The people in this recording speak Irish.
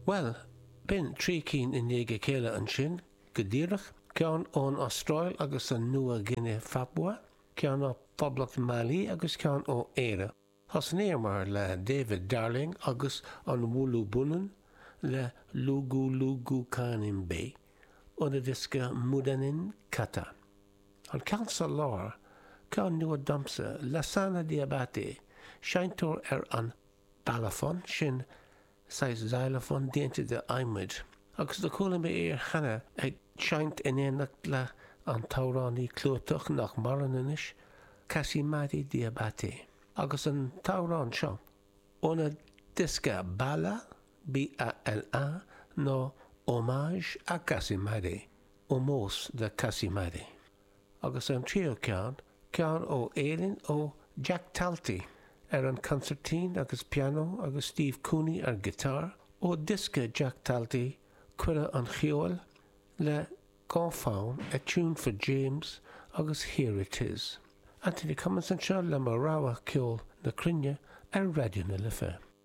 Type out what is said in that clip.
Bhuel, b'in 3 cinn i ndiaidh a chéile ansin, go díreach, ceann ón Astráil agus an Nua-Ghuine Phapua, ceann ó Phoblacht Mhailí agus ceann ó Éire. Thosnaíomar le David Darling agus an Wulu Bunun le Lugu Lugu Kanimbe óna dhiosca Mudanin Kata. An ceann sa lár, ceann nua domsa, Lassana Diabaté, seinnteoir ar an balafon, sin saghas xylophone déanta de adhmaid, agus do chuala mé é cheana ag seinnt in éineacht le an t-amhránaí clúiteach nach maireann anois, Kassimati Diabaté. Agus an t-amhrán seo, óna diosca Bala, B-A-L-A, ná Hommage à Kassimati, ómós do Kassimati. Agus an tríú ceann, ceann ó Éirinn ó Jack Talty ar an consairtín agus pianó agus Steve Cooney ar guitar, ó diosca Jack Talty, Cuireadh an Cheoil, le dhá fonn, A Tune for James agus Here It Is. Anthony Cummins anseo le mo rogha ceol na cruinne ar Raidió na Life.